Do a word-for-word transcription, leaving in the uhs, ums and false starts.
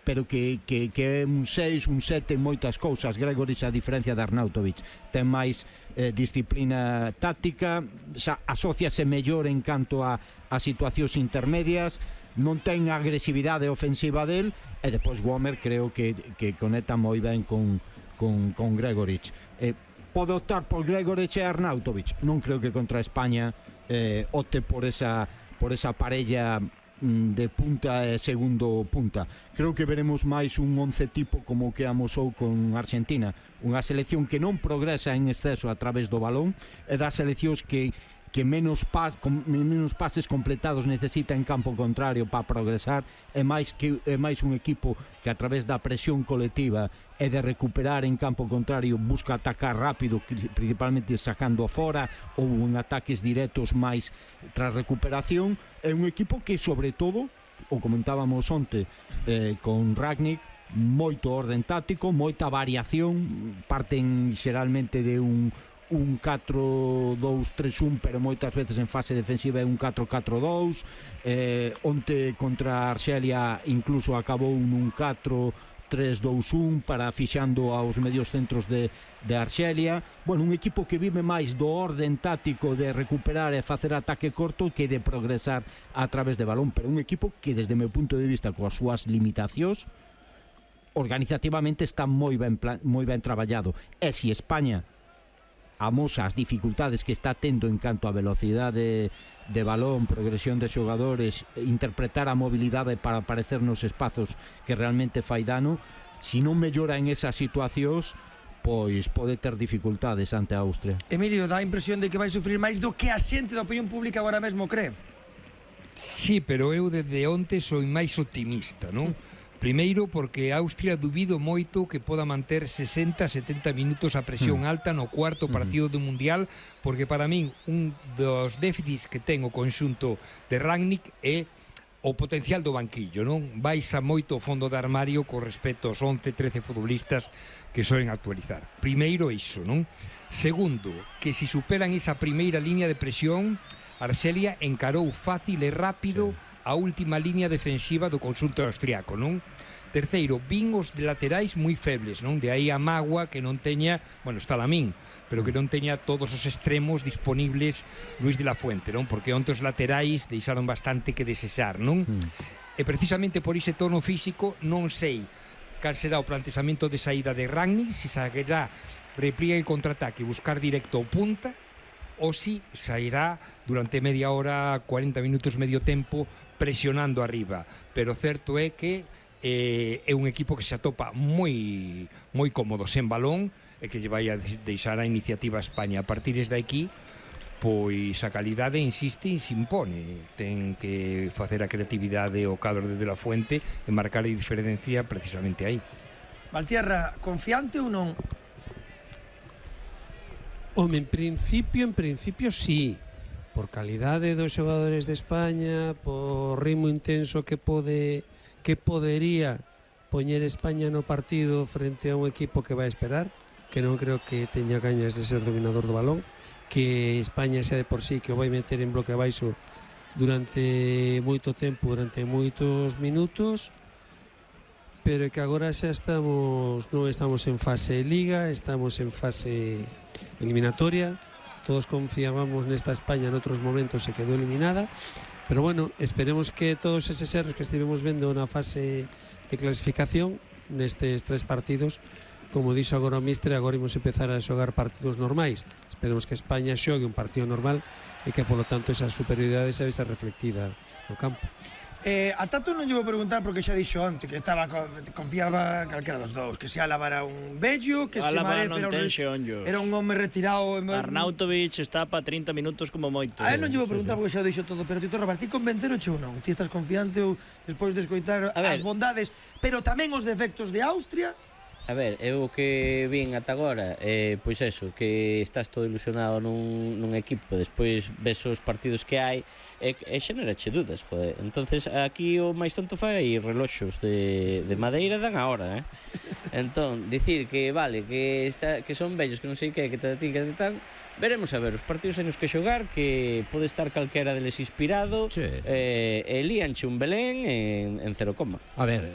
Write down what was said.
pero que, que, que é un seis, un sete en moitas cousas. Gregoric, a diferencia de Arnautovic, ten máis eh, disciplina táctica, xa asociase mellor en canto a, a situacións intermedias, non ten a agresividade ofensiva del, e depois Wömer creo que, que conecta moi ben con, con, con Gregoric. Eh, pode optar por Gregoric e Arnautovic. Non creo que contra España eh, opte por esa, por esa parella de punta e segundo punta. Creo que veremos máis un once tipo como que amosou con Argentina, unha selección que non progresa en exceso a través do balón, e das seleccións que que menos, pas, con, menos pases completados necesita en campo contrario para progresar, é máis que é máis un equipo que a través da presión colectiva e de recuperar en campo contrario busca atacar rápido, principalmente sacando a fora ou en ataques directos máis tras recuperación. É un equipo que sobre todo, o comentábamos onte eh, con Rangnick, moito orden táctico, moita variación, parten xeralmente de un un catro dous tres un, pero moitas veces en fase defensiva é un catro catro dous. eh, onte contra Arxelia incluso acabou nun catro tres dous un para fixando aos medios centros de, de Arxelia. Bueno, un equipo que vive máis do orden táctico de recuperar e facer ataque corto que de progresar a través de balón, pero un equipo que desde o meu punto de vista coas súas limitacións organizativamente está moi ben, moi ben traballado. E se España amosa as dificultades que está tendo en canto a velocidade de balón, progresión de xogadores, interpretar a mobilidade para aparecer nos espazos que realmente fai dano, se non mellora en esas situacións, pois pode ter dificultades ante a Austria. Emilio, dá a impresión de que vai sufrir máis do que a xente da opinión pública agora mesmo cree. Sí, pero eu desde onte sou máis optimista, non? Primeiro porque Austria dubido moito que poda manter sesenta a setenta minutos a presión mm. alta no cuarto partido do Mundial, porque para min un dos déficits que ten o conxunto de Rangnick é o potencial do banquillo, non? Baixa moito o fondo de armario con respecto aos once, trece futbolistas que soen actualizar. Primeiro iso, non? Segundo, que se superan esa primeira línea de presión, Arxelia encarou fácil e rápido sí. a última línea defensiva do conxunto austriaco, non? Terceiro, vin os de laterais moi febles, non? De aí a mágoa que non teña, bueno, está Lamín, pero que non teña todos os extremos disponibles Luis de la Fuente, non? Porque onte os laterais deixaron bastante que desexar, non? Mm. E precisamente por ese tono físico non sei cal será o plantexamento de saída de Rangnick, se sairá repliega e contraataque, buscar directo ao punta, ou si sairá durante media hora, cuarenta minutos, medio tempo, presionando arriba. Pero certo é que eh, é un equipo que se atopa moi moi cómodo sen balón e que lle vai a deixar a iniciativa a España. A partir de aquí, pois a calidade insiste e se impone. Ten que facer a creatividade o cadro de la Fuente e marcar a diferencia precisamente aí. Valtierra, confiante ou non? Home, en principio, en principio sí, por calidade dos xogadores de España, por ritmo intenso que pode que podería poñer España no partido frente a un equipo que vai esperar, que non creo que teña cañas de ser dominador do balón, que España xa de por sí que o vai meter en bloque abaixo durante moito tempo, durante moitos minutos, pero que agora xa estamos non estamos en fase liga, estamos en fase eliminatoria. Todos confiábamos nesta España, en outros momentos se quedou eliminada, pero bueno, esperemos que todos eses erros que estivemos vendo na fase de clasificación nestes tres partidos, como dixo agora o míster, agora imos empezar a xogar partidos normais. Esperemos que España xogue un partido normal e que, polo tanto, esa superioridade se vexa reflectida no campo. Eh, a Tato non lle vou preguntar porque xa dixo antes que estaba confiaba calquera dos dous, que se Álava era un bello, que se Marez era un, era un home retirado. Arnautovic está para trinta minutos como moito. A él non lle vou preguntar porque xa dixo todo, pero Tito Rabat, ti convenceroche ou non? Ti estás confiante ou despois de escoitar as bondades, pero tamén os defectos de Austria? A ver, eu que vin ata agora, eh, pois eso, que estás todo ilusionado nun, nun equipo, despois ves os partidos que hai e, e xenerache dudas, joder. Entonces aquí o máis tonto fai reloxos de, de madeira dan a hora, eh? Entón, dicir que vale, que, está, que son vellos, que non sei que, que tal, que tal, veremos a ver, os partidos hai nos que xogar, que pode estar calquera deles inspirado, sí. eh, e líanche un Belén en, en cero coma. A ver,